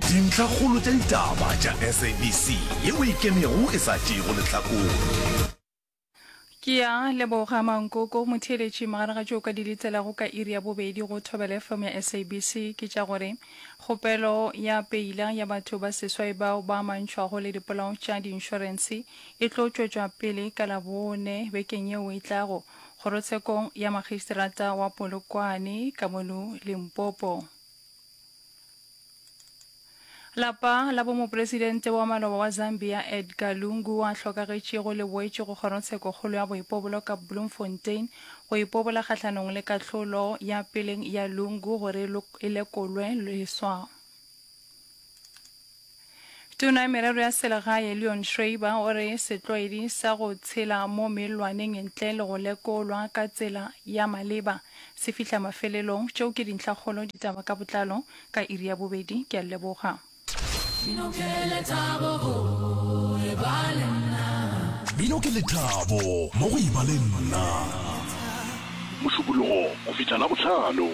Dintlhakgolo tša ditaba tša SABC yeo e ikemego e sa tšeego lehlakore. Ke a leboga Mankoko. Motheeletši, magareng ga tšeo o ka di letelago ka iri ya bobedi go Thobela FM ya SABC ke tša gore kgopelo ya peila ya batho ba seswai bao ba amantšhwago le dipolao tša diinšorense e tlo tšwetšwa pele ka Labone bekeng yeo e tlago kgorotshekong ya magistrata wa Polokwane ka mono Limpopo. Lapa la bomopresidente wa maloba wa Zambia Edgar Lungu a hlokagetšego le boetše go kgorotshekokgolo ya boipobolo ka Bloemfontein go ipobola kgahlanong le kahlolo ya peleng ya Lungu gore e lekolwe leswa. Tona ya Merero ya Selegae Leon Schreiber o re setlwaedi sa go tshela mo mellwaneng ntle le go lekolwa ka tsela ya maleba se fihla mafelelong. Tšeo ke dintlhakgolo ditaba ka botlalo ka iri ya bobedi. Ke a leboga. Mmino ke lethabo go e ba le nna. Mmino ke lethabo mo go e ba le nna. Mošupologo go fihla Labohlano.